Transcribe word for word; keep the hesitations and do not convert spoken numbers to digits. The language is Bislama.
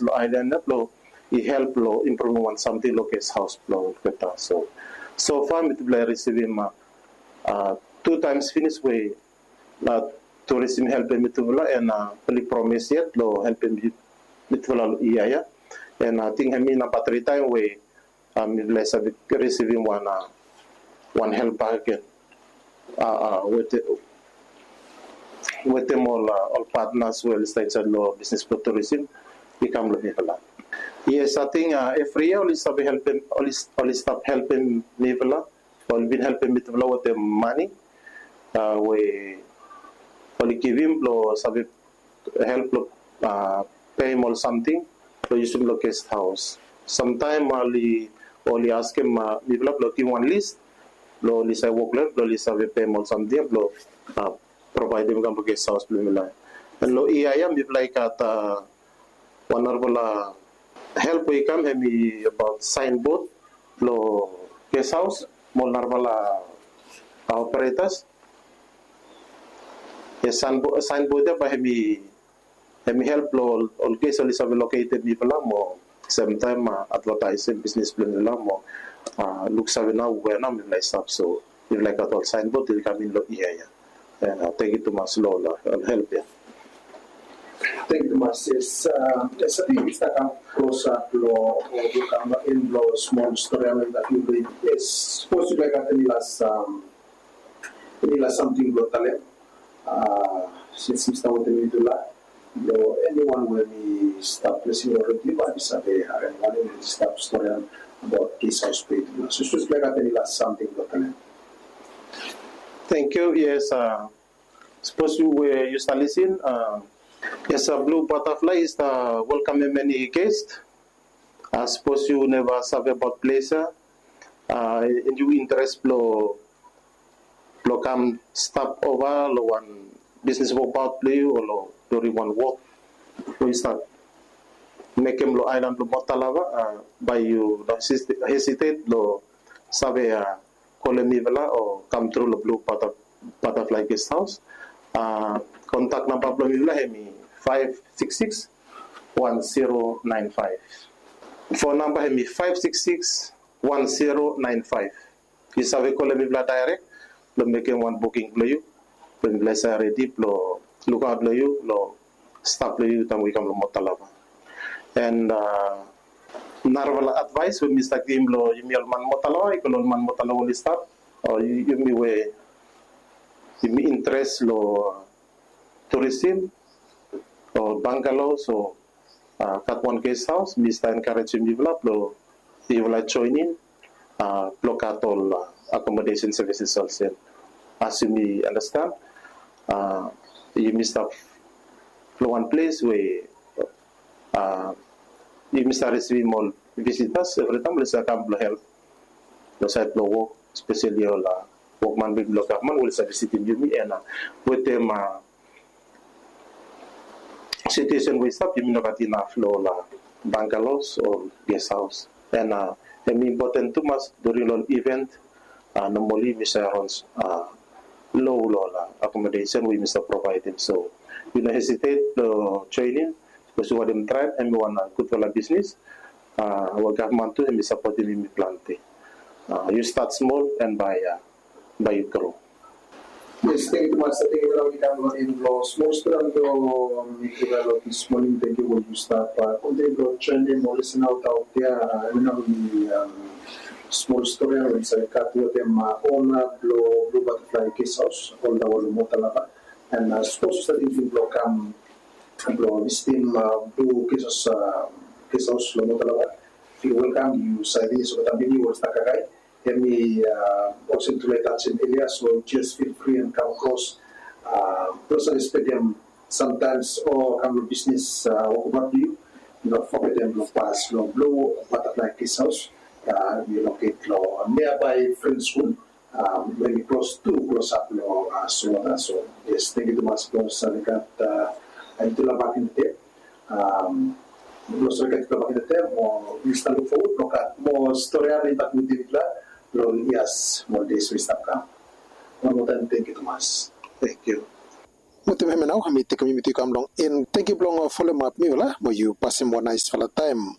lo aelan ya blo i help lo impruvim wan samting lo guest haos blo olgeta. So so far mitufala i risivim tu taems finis we na tourism helpem mitufala, and oli promis yet lo helpem mitufala lo yia ya. And ating hemi namba tri taem we mifala i save risivim wan wan help bakegen wetem ol ol partners we oli stap insaed lo bisnis blo tourism i kam lo mifala. Yes, ating evri yia oli save helpem, oli stap helpem mifala. Oli bin helpem mitufala wetem mane we oli givim blo save help lo peim ol samting blo yusum lo guest haos. Samtaem oli oli askem mifala blo givim wan lis blo oli save wok lo hem blo oli save peim ol samting ya blo provaedem i kam lo guest haos blo mifala. And lo yia ya mifala i gat wan narafala help we i kam, hemi abaot saenbod blo guest haos mo ol narafala operetas. Yes, saenbod ya bae hemi hemi help lo ol guest oli save loketem mifala mo semtaem advataesem bisnis blo mifala mo luksave nao we nao mifala i stap. So mifala i gat ol saenbod oli kam in lo yia ya. Tangkiu tumas lo ol help ya. Tangkiu tumas. Yes, yes, ating mi stap kam klosap lo ol kam in lo smol stori ya. Yes, sapos yu laik ating las eni las samting blo talem. Sins mi stap wetem yutufala, lo eniwan we mi stap lisin olredi bae mi save harem wanem mi stap storian abaot guest haos blo yutufala. So sapos yu laik ating eni las samting blo talem. Tangkiu. Yes, sapos yu we yu stap lisin, yes, Blue Butterfly i stap welkamem eni guest. Sapos yu neva save abaot ples ya, and yu interes blo blo kam stap ova lo wan bisnis wokbaot blo yu o lo during wan wok we yu stap mekem lo aelan blo Mota Lava, bae yu no hesitet blo save kolem mifala o kam tru lo Blue Butterfly Guest House. Kontak namba blo mifala hemi faef sikis sikis wan zero naen faef. Fon namba hemi faef sikis sikis wan zero naen faef. Yu save kolem mifala daerek blo mekem wan buking blo yu, blo mifala i save redi blo lukaot lo yu lo stap lo yu taem we yu kam lo Mota Lava. And narafala advaes we mi stap givim lo yumi ol man Mota Lava, i go lo ol man Mota Lava oli stap, o yumi we yumi interes lo tourism o bangalows o gat wan guest house, mi stap enkarejem yufala blo yufala joenem blo gat ol accommodation services olsem. As yumi anastan, yumi stap lo wan ples we yumi stap risivim ol visitas evritaem oli save kam blo help lo saed blo wok, espeseli ol wokman blo gavman we oli save visitim yumi. And wetem situation we i stap, yumi no gat inaf lo ol bangalows o guest house. And hemi impoten tumas during lo ol event, nomali yumi save rans lo ol accommodation we yumi save provaedem. So yu no hesitet lo joenem, bikos yu wantem traem, hemi wan gudfala bisnis we gavman tu hemi sapotem yumi plante. Yu stat smol and bae bae yu gro. Yes, tangkiu tumas. Ating yumi kam lo en blo smol stori blo mitufala lo dis moning. Tangkiu we yu stap kontiniu blo joenem ol lisenas aot ya. Hemi nao mi smol stori we mi save gat wetem ona blo Blue Butterfly Guest House, oltaem lo Mota Lava. And sapos yu stap tingting blo kam blo visitim Blue Guest House, Guest House lo Mota Lava, yu welkam. Yu save finis olgeta meniu we oli stap kakae. Hemi olsem mitufala i tajem elia, so just feel free and come across blo save spendem samtaem o kam lo bisnis wokbaot blo yu. No fogetem blo pas lo Blue Butterfly Guest House. Hemi loket lo niabae French School, we hemi klos tu klosap lo Sorota. So yes, tangkiu tumas blo save gat yutufala bakegen. Blo save gat yutufala bakegen, mo mi stap luk fowod blo gat moa stori we mi stap mekem yutufala lo yia mo des we i stap kam. Wan moa taem tangkiu tumas. Tangkiu. Wetem hemia nao mi tekem yumi tu i kam long en. Tengiu blong folem ap mifala mo yu pasem wan naesfala taem.